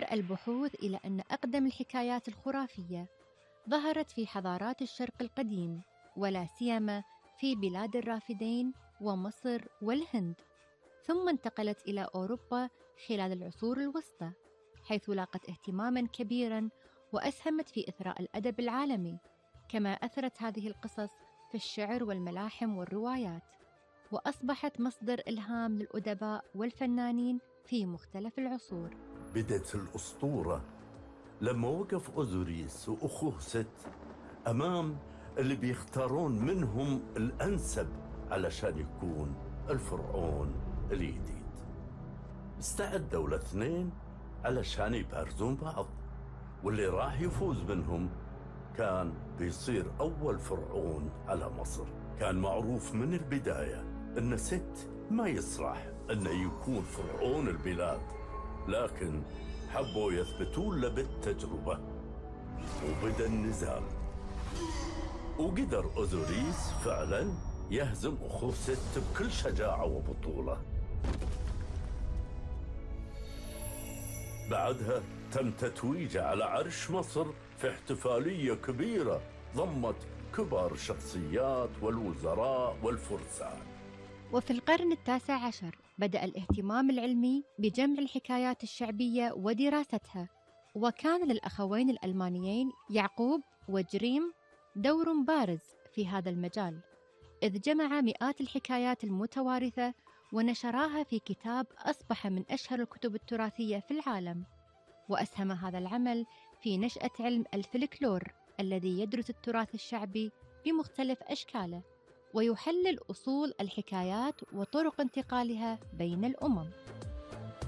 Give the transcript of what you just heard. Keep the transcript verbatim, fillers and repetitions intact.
البحوث إلى أن أقدم الحكايات الخرافية ظهرت في حضارات الشرق القديم، ولا سيما في بلاد الرافدين ومصر والهند، ثم انتقلت إلى أوروبا خلال العصور الوسطى، حيث لاقت اهتماماً كبيراً وأسهمت في إثراء الأدب العالمي. كما أثرت هذه القصص في الشعر والملاحم والروايات، وأصبحت مصدر إلهام للأدباء والفنانين في مختلف العصور. بدت الأسطورة لما وقف أوزوريس وأخوه ست أمام اللي بيختارون منهم الأنسب علشان يكون الفرعون الجديد. استعدوا الاثنين علشان يبارزون بعض، واللي راح يفوز منهم كان بيصير أول فرعون على مصر. كان معروف من البداية أن ست ما يصلح أنه يكون فرعون البلاد، لكن حبوا يثبتون له بالتجربة، وبدأ النزال. وقدر أوزوريس فعلا يهزم أخوه ست بكل شجاعة وبطولة. بعدها تم تتويجه على عرش مصر في احتفالية كبيرة ضمت كبار الشخصيات والوزراء والفرسان. وفي القرن التاسع عشر بدأ الاهتمام العلمي بجمع الحكايات الشعبية ودراستها، وكان للأخوين الألمانيين يعقوب وجريم دور بارز في هذا المجال، إذ جمع مئات الحكايات المتوارثة ونشراها في كتاب أصبح من أشهر الكتب التراثية في العالم. وأسهم هذا العمل في نشأة علم الفلكلور الذي يدرس التراث الشعبي بمختلف أشكاله، ويحلل أصول الحكايات وطرق انتقالها بين الأمم.